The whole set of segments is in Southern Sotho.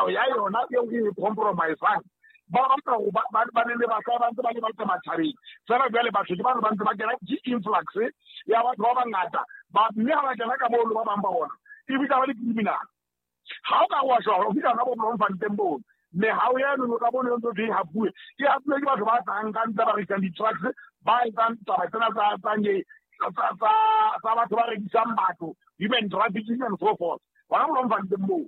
Ya yona eo e compromisang, ba batla go ba ne le ba ba ntse ba le batla matjhabeng fela. Jwale batho ke bano ba ntse ba kena, ke influx ya batho ba bangata ba, mme ha ba kena ka moo, ba bang ba bona e bitsa ba le criminal. Ha o ka wa shwa o fihla hona bo Bloemfontein bono, mehao eno ka bono ntse e hapuwe, e hapuwe ke batho ba tlang ka ntle, ba rekisang di-trucks, ba etsang taba tsena tsa batho ba rekisang batho, human trafficking and so forth, hona Bloemfontein moo.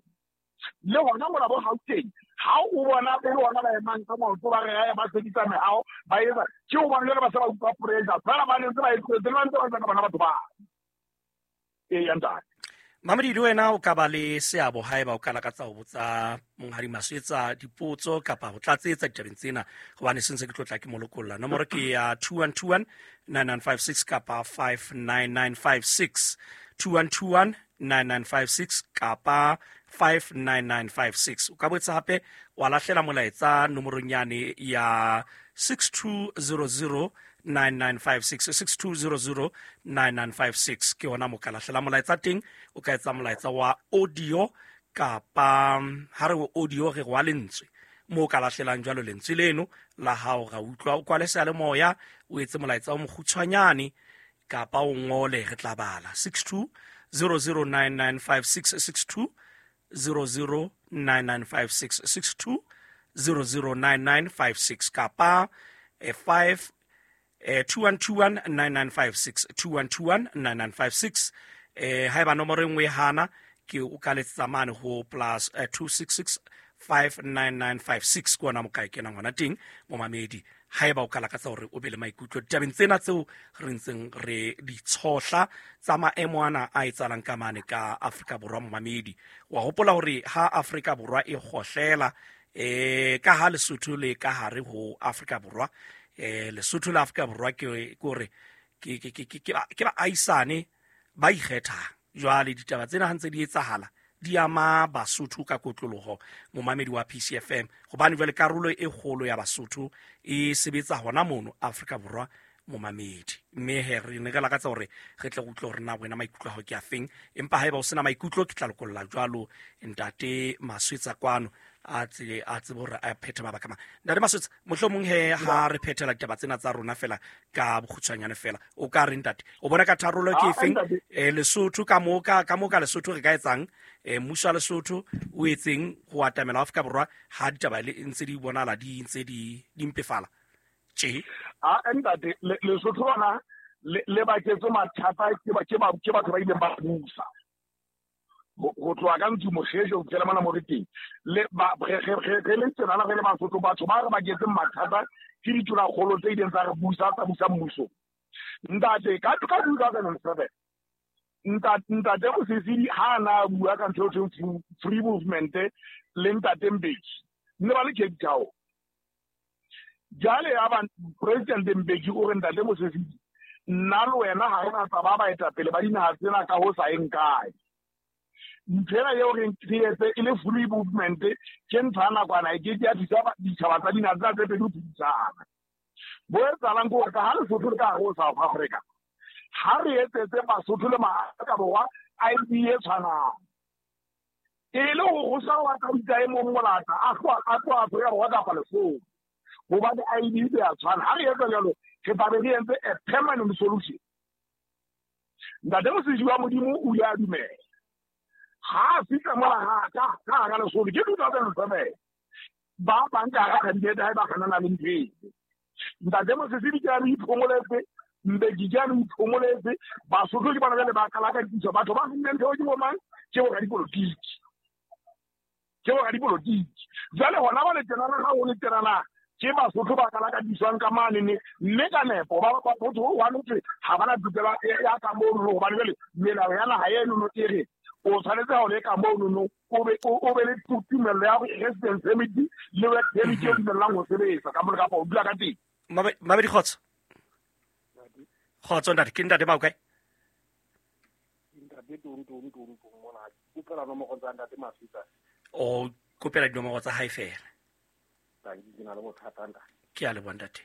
Le hona mona bo Gauteng, ha o bona e le hona ba emang ka maoto, ba re ba sebedisa mehao, ba etsa ke o bona jwale ba se ba utlwa pressure fela, ba ntse ba e tlohetse, ba ntse ba etsa ka bona batho ba ee ya ntate. Mamedi, le wena o ka ba le seabo haeba o ka lakatsa ho botsa Monghadi Maswetsa dipotso kapa ho tlatsetsa ditabeng tsena, hobane se ntse ke tlotla ke molokolla. Nomoro ke ya 2121 9956 kapa 59956, 2121 9956 kapa 59956. O ka boetse hape wa lahlela molaetsa nomorong yane ya 6200 9956, 6200 9956. Ke hona mo ka lahlela molaetsa teng. O ka etsa molaetsa wa audio kapa ha re audio re wa lentswe, mo o ka lahlelang jwalo lentswe leno la hao ra utlwa. O kwale seyalemoya, o etse molaetsa o mokgutshwanyane kapa o ngole, re tla bala. 62 009956, 62 009956, 62 009956 kapa 5 2121 9956, 2121 9956. Haeba nomoro e nngwe e hana, ke o ka letsetsa mane ho plus 266 59956. Ke ona mo ka e kenang hona teng, momamedi, haeba o ka lakatsa hore o be le maikutlo ditabeng tsena tseo re ntseng re di tshohla tsa maemo ana a etsahalang ka mane ka Afrika Borwa. Momamedi, wa hopola hore ha Afrika Borwa e kgohlela, ka ha Lesotho le ka hare ho Afrika Borwa, Lesotho le Afrika Borwa ke hore ke baahisane ba ikgethang. Jwale ditaba tsena ha ntse di etsahala, di ama Basotho ka kotloloho, momamedi wa PCFM, hobane jwale karolo e kgolo ya Basotho e sebetsa hona mono Afrika Borwa, momamedi. Mme he re ne re lakatsa hore re tle re utlwe hore na wena maikutlo a hao ke a feng. Empa haeba o sena maikutlo, ke tla lokolla jwalo Ntate Maswetsa kwano a tsebe a tsebe hore a phethe mabaka mang. Ntate Maswetsa, mohlomong he ha re phethela ditaba tsena tsa rona fela ka bokgutshwanyane fela, o ka re, ntate, o bona ka tharollo ke efeng? Lesotho ka mo ka Lesotho re ka etsang? Mmuso wa Lesotho o etseng ho atamela Afrika Borwa ha ditaba le ntse di bonala di ntse di mpefala tje? A ntate, Lesotho lona le baketse mathata ke batho ba ileng ba busa ho tloha ka ntsu Moshoeshoe ho fitlhela mona mo re teng. Le ba re le tsenana, re le Basotho, batho ba re baketseng mathata ke ditulakgolo tse ileng tsa re busa, tsa busa mmuso, ntate, ka 2007. Ntate Mosisili ha a na bua ka ntho eo thweng free movement le ntate Mbeki, ne ba le Cape Town. Jwale ya ba President Mbeki o re, "Ntate Mosisili, nna le wena ha re na tsa ba baetapele ba dinaha tsena ka ho sa eng kae. Ntho ena eo re etse e le free movement ke ntho ya nakwana, e ke ke ya thusa ditjhaba tsa dinaha tsena tse pedi ho phedisana." Bo etsahalang ke hore ka ha Lesotho le ka hare ho South Africa, ha re etsetse Basotho le Maafrika Borwa ID e tshwanang, e le hore ho sa wa ka bitsa e mong molata a tloha Afrika Borwa kapa Lesotho, hobane ID e ya tshwana. Ha re etsa jwalo, re tla be re entse a permanent solution. Ntate Mosisi wa Modimo o ile a dumela ha a fihla mola ka hara Lesotho ke 2007. Ba bang ka hara kabinete ha e ba kganana le ntho eo. Ntate Mosisi ke a re iphomoletse, Mbeki ke a re iphomoletse. Basotho ke bona jwale ba qala ka ditso. Batho ba finneng ntho ke bomang? Ke boradipolotiki, ke boradipolotiki. Jwale hona ba le tjenana, ha ho le tjenana, ke Basotho ba qala ka diswang ka mane, mme ka nepo ba motho o one thwe ha bana tokelo ya ka mono, hobane jwale melao ya naha enono e re o tshwanetse ha o le ka monono o be le tumello ya residence permit le work permit e dumellang ho sebetsa ka mona kapa o dula ka teng. Mabedi, kgotso, kgotso ntate. Ke ntate bao kae? Ntate Tontontonton mona, kopela nomoro tsa ntate Maswetsa. O kopela dinomoro tsa hae fela? Tanki, ke na le bothata, ntate. Ke a leboha, ntate.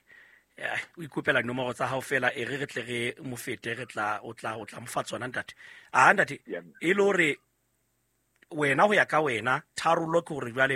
O ikopela dinomoro tsa hao fela, e re re tle re mo fete, re tla o tla o tla mo fa tsona, ntate. A ntate, e le hore Wena, ho ya ka wena, tharollo ke hore jwale